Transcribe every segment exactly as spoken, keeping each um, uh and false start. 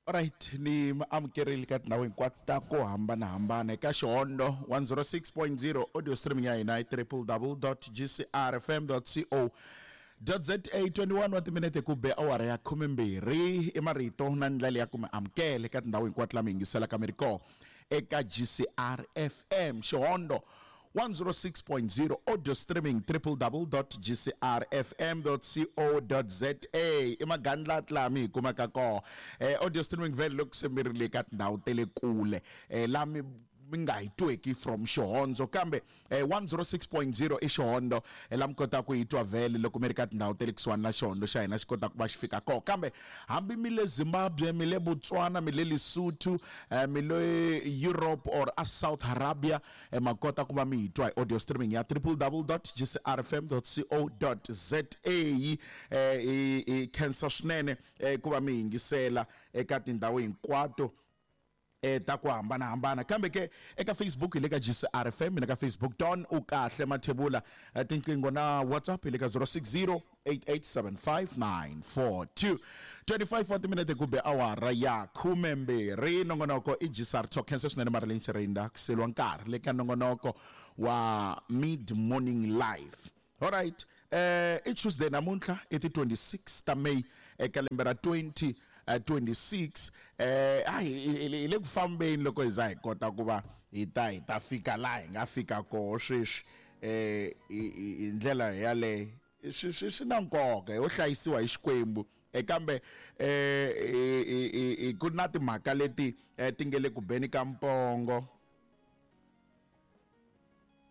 Alright, ni mi amukerile ka tindhawu hinkwato ta ku hambanahambana eka Xihondo one zero six point zero audio streaming ya hina i triple double dot g c r f m dot c o dot z a. twenty-one wa timinete ku be awara ya khume mbirhi i marito na ndlela ya ku mi amukele ka tindhawu hinkwato la mi yingiselaka mi ri kona eka G C R F M Xihondo one zero six point zero audio streaming triple double dot g c r f m dot c o dot z a i magandlati laha mi hi kumaka kona. Eh, audio streaming vhele loko se mi ri le ka tindhawu ta le kule, eh, laha mi mi nga hi tweki from Xihondzo, kambe, eh, one zero six point zero i Xihondo, eh, la mi kotaka ku yi twa vhele loko mi ri ka tindhawu ta le kusuhani na Xihondo xa hina xi kotaka ku va xi fika kona. Kambe hambi mi le Zimbabwe, mi le Botswana, mi le Lesotho, eh, mi le Europe or a South Arabia, eh, ma kota ku va mi hi twa hi audio streaming ya triple double dot g c r f m dot c o dot z a. Eh, hi, hi khensa swinene, eh, ku va mi yingisela eka tindhawu hinkwato, eh, ta ku hambanahambana. Kambe ke eka Facebook hi le ka G C R F M, na ka Facebook Don u kahle Mathebula, eh, tinqingho na WhatsApp hi le ka zero six zero eight eight seven five nine four two. twenty-five wa timinete ku be awara ya khume mbirhi. Nongonoko i G C R Talk. Khensa swinene Marilyn Chirinda ku seliwa nkarhi le ka nongonoko wa Mid Morning Live. All right, eh, i Tuesday namuntlha i ti twenty-six ta May eka lembe ra twenty twenty-six. Eh, a hi, hi, hi le ku fambeni loko hi za hi kota ku va hi ta, hi ta fika laha hi nga fika koho sweswi. Eh, hi, hi, hi ndlela yaleyo swi, swi, swi na nkoka yo hlayisiwa hi Xikwembu. Eh, kambe, eh, hi, hi, hi, hi, ku na timhaka leti, eh, ti nge le ku beni ka mpongo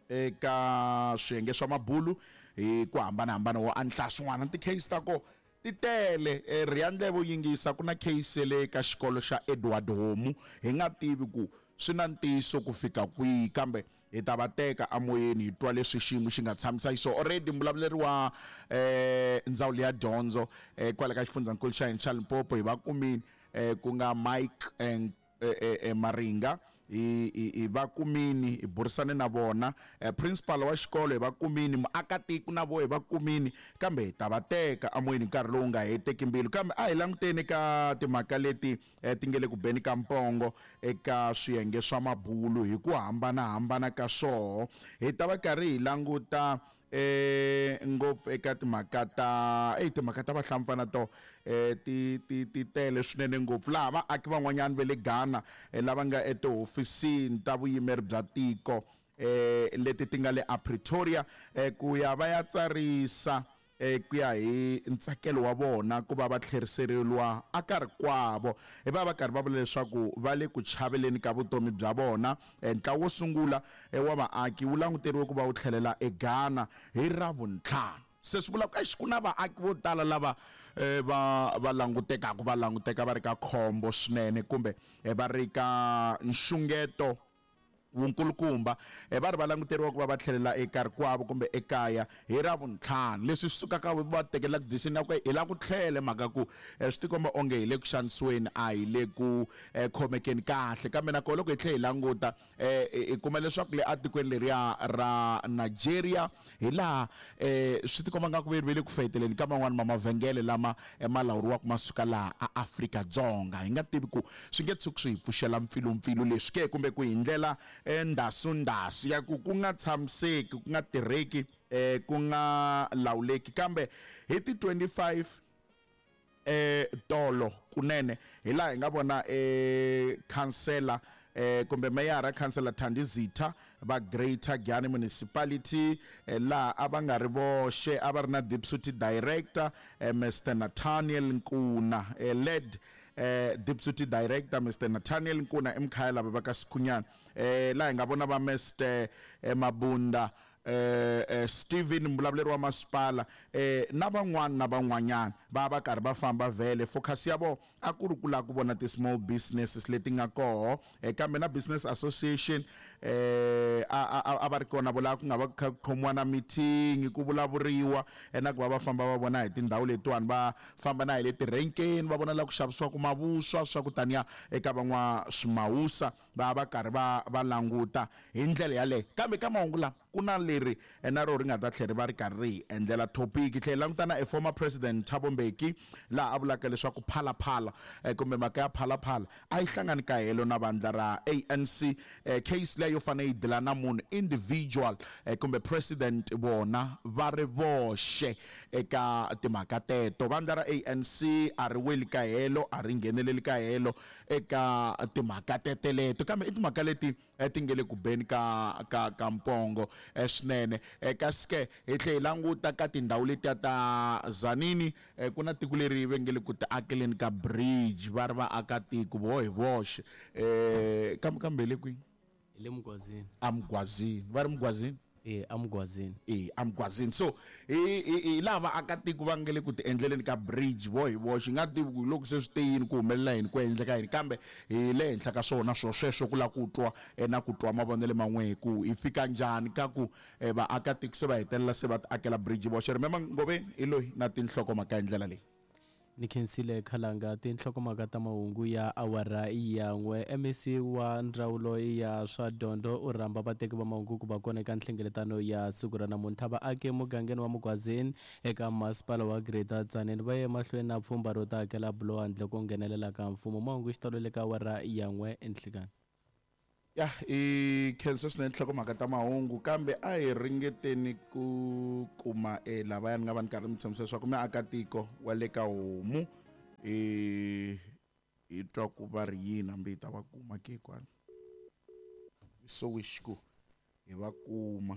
eka swiyenge swa mabulu hi ku hambanahambana wo andlala swin'wana. Ti-case ta ko ti tele. Eh, rhiya ndleve u yingisa, ku na case le ka xikolo xa Edward Homu, hi nga tivi ku swi na ntiyiso ku fika kwihi, kambe hi ta va teka amoyeni hi twa leswi xiyimo xi nga tshamisa xiswona. Already mbulavuleri wa, eh, ndzawulo ya dyondzo, eh, kwale ka xifundzankulu xa hina xa Limpopo hi va kumile, eh, ku nga Mike, eh, eh, eh, eh, Maringa, hi, hi, hi va kumini, hi burisane na vona, eh, principal wa xikolo hi va kumini, muakatiko na vo hi va kumini, kambe hi ta va teka amoyeni nkarhi lowu nga heteki mbilu. Kambe a hi languteni ka timhaka leti, eh, ti nge le ku beni ka mpongo eka swiyenge swa mabulu hi ku hambanahambana ka swoho. Hi ta va karhi hi languta, eh, ngopfu eka timhaka ta, ey, timhaka ta vahlampfana to, eh, ti, ti, ti tele swinene ngopfu, laha vaaki van'wanyana va le Ghana, eh, lava nga etihofisini ta vuyimeri bya tiko, eh, leti ti nga le a Pretoria, eh, ku ya va ya tsarisa, eh, ku ya hi ntsakelo wa vona ku va va tlheriseriwa a ka rikwavo. Hi va va karhi va vula leswaku va le ku chaveleni ka vutomi bya vona. Eh, ntlawa wo sungula, eh, wa vaaki wu languteriwe ku va wu tlhelela eGhana hi Ravuntlhanu. Se swi vula ku eish, ku na vaaki vo tala lava, eh, va, va langutekaka, va languteka va ri ka khombo swinene kumbe, eh, va ri ka nxungeto wunkulukumba, eh, va ri va languteriwa ku va va tlhelela eka rikwavo kumbe ekaya hi Ravuntlhanu. Leswi swi sukaka va tekela decision ya ku hi lava ku tlhela, mhaka ku, eh, swi tikomba onge hi le ku xanisiweni, a hi le ku, eh, khomekeni kahle. Kambe nakona loko hi tlhela hi languta, eh, hi, hi kuma leswaku le atikweni leriya ra Nigeria hi laha, eh, swi tikomba nga ku ve le ku feteleni ka man'wani ma mavhengele lama, eh, ma lawuriwaka ma suka laha a Afrika-Dzonga. Hi nga tivi ku swi nge tshuki swi hi pfuxela mpfilumpfilu leswi ke, kumbe ku hi ndlela, eh, ndhasundasu ya ku ku nga tshamiseki, ku nga tirheki, eh, ku nga lawuleki. Kambe hi ti twenty-five, eh, tolo kunene hi laha hi nga vona, eh, khansela, eh, kumbe meyara khansela Thandi Zitha va Greater Giyani Municipality, eh, laha a va nga ri voxe, a va ri na deputy director, eh, Mister Nathaniel Nkuna, eh, led, eh, deputy director Mister Nathaniel Nkuna emkhaya lava va ka Sikhunyana, eh, laha hi nga vona va Mister, eh, Mabunda, eh, eh, Steven mbulavuleri wa masipala, eh, na van'wana na van'wanyana va va karhi va famba vhele. Focus ya vo a ku ri ku lava ku vona ti-small businesses leti nga koho, eh, kambe na business association, eh a a va ri kona vula ku nga va kha khomiwa na meeting ku vulavuriwa na ku va va famba va vona hi tindhawu letiwani va famba na hi le tirenkeni va vona la ku xavisiwaka mavuswa swa ku taniya eka van'wa swimawusa va va karhi va va languta hi ndlela yaleyo. Kambe ka mahungu lama ku na leri na ro ri nga ta tlhela ri va ri karhi ri hi endlela topic. Tlhela languta na a former president Thabo Mbeki laha a vulaka leswaku Phalaphala kumbe mhaka ya Phalaphala a yi hlangani ka helo na vandla ra A N C. Case leyo fanele yi dila na munhu individual kumbe president vona va ri voxe eka timhaka teto. Vandla ra A N C a ri weli ka helo, a ri ngheneleli ka helo eka timhaka teteleto, kambe i timhaka leti ti nge le ku beni ka ka ka mpongo swinene. Kasi ke hi tlhela hi languta ka tindhawu letiya ta Zanini, ku na tiko leri va nge le ku ti akeleni ka bridge, va ri va aka tiko vo hi voxe. Eh kambe kambe le kwihi? Hi le Mugwazini. Amugwazini, va ri Mugwazini? Eh Amugwazini. Eh Amugwazini. So hi hi lava vaaka tiko va nge le ku ti endleleni ka bridge vo hi voxe, nga tivi ku loko se swi te yini ku humelela yini ku endleka yini, kambe hi le henhla ka swona swo sweswo ku lava ku twa na ku twa mavonelo man'we ku hi fika njhani ka ku vaaka tiko se va hetelela se va ti akela bridge voxe. Remember Ngoveni hi loyi na tinhlokomhaka hi ndlela leyi. Ni khensile Khalanga. Tinhlokomhaka ta mahungu ya awara ya n'we. M E C wa ndzawulo ya swa dyondzo u rhamba vateki va mahungu ku va kona eka nhlengeletano ya siku ra namuntlha. Vaaki emugangeni wa Mugwazini eka masipala wa Greater Tzaneen va ye emahlweni na pfhumba ro ta akela buloho handle ko nghenelela ka mfumo. Mahungu xitalo le ka awara ya n'we enhlikani. Ya i khensa swinene nhlokomhaka ta mahungu, kambe a hi ringeteni ku kuma e lavaya ni nga va ni karhi mi tshembisa leswaku miakatiko wa le ka homu i hi twa ku va ri yini hambi hi ta va kuma ke kwala. So wish ku hi va kuma.